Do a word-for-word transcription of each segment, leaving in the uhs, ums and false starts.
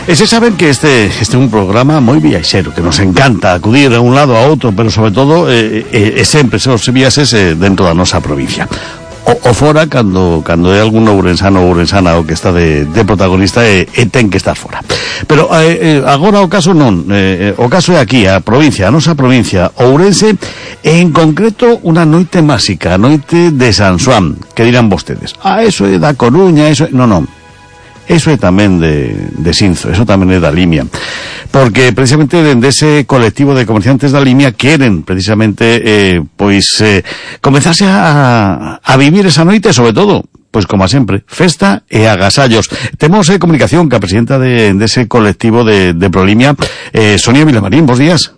E se saben que este, este é un programa moi viaxero, que nos encanta acudir a un lado a outro, pero sobre todo, eh, eh, eh, sempre se os viaxes eh, dentro da nosa provincia. O, o fora, cando, cando é algún ourensano ou ourensana o que está de, de protagonista e, e ten que estar fora. Pero eh, agora o caso non, eh, o caso é aquí, a provincia, a nosa provincia, Ourense, e en concreto unha noite máxica, a noite de San Xoán, que dirán vostedes, ah, eso é da Coruña, eso é... Non, non. Eso é tamén de, de Sinzo, eso tamén é da Limia. Porque precisamente dende ese colectivo de comerciantes da Limia queren precisamente eh, pois eh, comenzarse a, a vivir esa noite, sobre todo, pois como a sempre, festa e agasallos. Temos eh, comunicación ca presidenta de, de ese colectivo de, de Prolimia, eh, Sonia Vilamarín, bos días.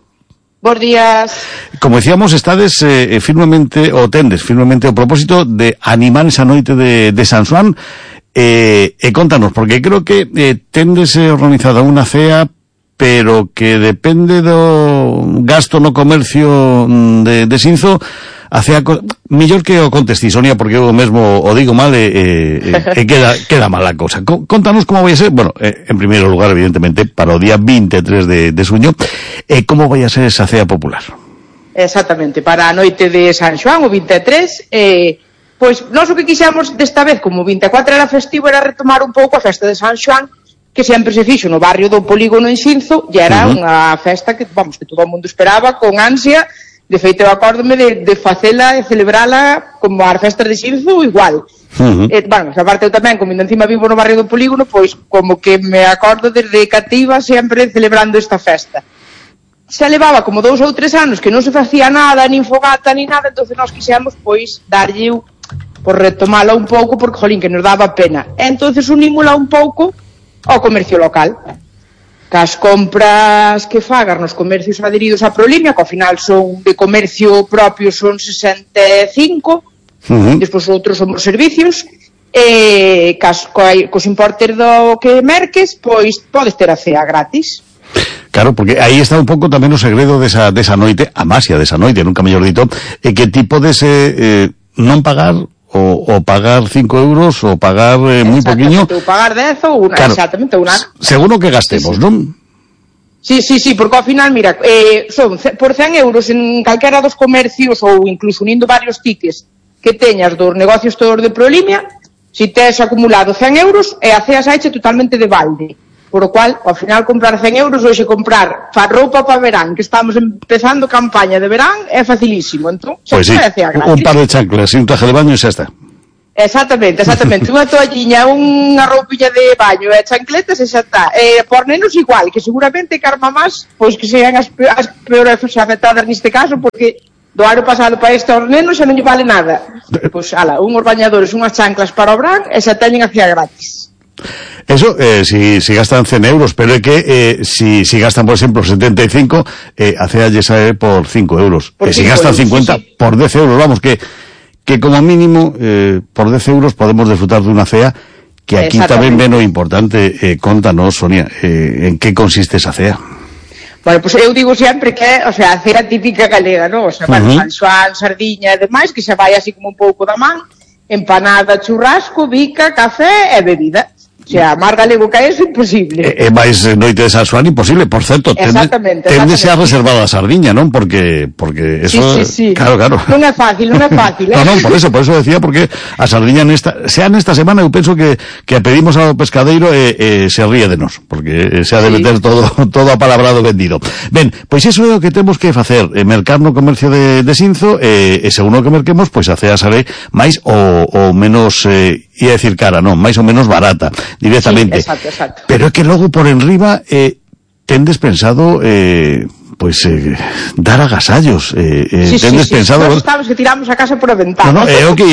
Bos días. Como decíamos, estades eh, firmemente, o tendes firmemente o propósito de animar esa noite de, de San Xoán. Eh, e contanos, porque creo que eh, tendes organizada unha cea, pero que depende do gasto no comercio de, de Sinzo, a cea, mellor que o contestí, Sonia, porque eu mesmo o digo mal e, e, e queda, queda mal a cosa. Contanos como vai a ser, bueno, eh, en primeiro lugar, evidentemente, para o día veintitrés de, de xuño, e eh, como vai a ser esa cea popular. Exactamente, para a noite de San Xoán, o vinte e tres, eh, pois nós o que quixemos desta vez, como o vinte e catro era festivo, era retomar un pouco a festa de San Xoán, que sempre se fixo no barrio do Polígono en Sinzo, e era uh-huh. unha festa que, vamos, que todo o mundo esperaba con ansia. De feito, eu acórdome de, de facela e celebrala como as festas de Sinzo igual. Uh-huh. E, bueno, a parte eu tamén, como encima vivo no barrio do Polígono, pois como que me acordo desde cativa sempre celebrando esta festa. Se levaba como dous ou tres anos que non se facía nada, nin fogata, nin nada, entonces nós quixemos, pois, darlle por retomala un pouco, porque, jolín, que nos daba pena. E entonces unímola un pouco ao comercio local. Cas compras que fagas nos comercios adheridos a Prolimia, que ao final son de comercio propio, son sesenta e cinco, uh-huh. despois outros son os servicios, e cas, co, cos importes do que merques, pois podes ter a cea gratis. Claro, porque aí está un pouco tamén o segredo desa, desa noite, a masia desa noite, nunca mellor dito, e que ti podes eh, eh, non pagar O, o pagar cinco euros, o pagar eh, moi poquinho. Ou pagar dez ou unha, claro, exactamente, unha. Seguro que gastemos, sí, sí. Non? Sí, sí, sí, porque ao final, mira, eh, son por cen euros en calquera dos comercios ou incluso unindo varios tickets que teñas dos negocios todos de Prolimia, si tes acumulado cen euros e a cea saiche totalmente de balde. Por o cual, ao final, comprar cen euros, hoxe comprar fa roupa para verán, que estamos empezando campaña de verán, é facilísimo. Entón, pois sí, un par de chanclas e un traje de baño e xa está. Exactamente, exactamente. Unha toalliña, unha roupilla de baño e chancletas e xa está. E por nenos igual, que seguramente que as mamás, pois que sean as, as peores afectadas neste caso, porque do ano pasado para este aos nenos xa non lle vale nada. Pois, ala, unhos bañadores, unhas chanclas para o verán e xa teñen a cea gratis. Eso, eh, si, si gastan cen euros, pero é que eh, si, si gastan, por exemplo, setenta e cinco, eh, a cea lle sae por cinco euros. E eh, si gastan cincuenta, sí, sí. por dez euros, vamos, que, que como mínimo, eh, por dez euros podemos disfrutar dunha cea, que aquí tamén ven o importante. Eh, contanos, Sonia, eh, en que consiste esa cea? Bueno, pois pues eu digo sempre que, o sea, a cea típica galega, non? O sea, uh-huh. San Xoán, sardiña e demais, que xa vai así como un pouco da man, empanada, churrasco, bica, café e bebida. O sea, máis galego que eso, imposible. E, e máis noite de San Xoán, imposible. Por certo, tende xa reservada a sardiña, non? Porque, porque eso... Sí, sí, sí. Claro, claro. Non é fácil, non é fácil, eh? No, non, por eso, por eso decía, porque a sardiña nesta, sea nesta semana, eu penso que, que a pedimos ao pescadeiro e, e se ríe de nós, porque se ha de meter sí. todo, todo apalabrado vendido. Ben, pois iso é o que temos que facer, eh, mercar no comercio de, de Sinzo, e, e según o que merquemos, pois a cea sale máis ou, ou menos, eh, ia decir cara, non, máis ou menos barata, directamente. Sí, exacto, exacto. Pero é que logo por enriba eh, tendes pensado eh, pois eh, dar agasallos, eh, eh, sí, tendes sí, sí. pensado... Nós estamos que tiramos a casa por a ventana. No, no, é o que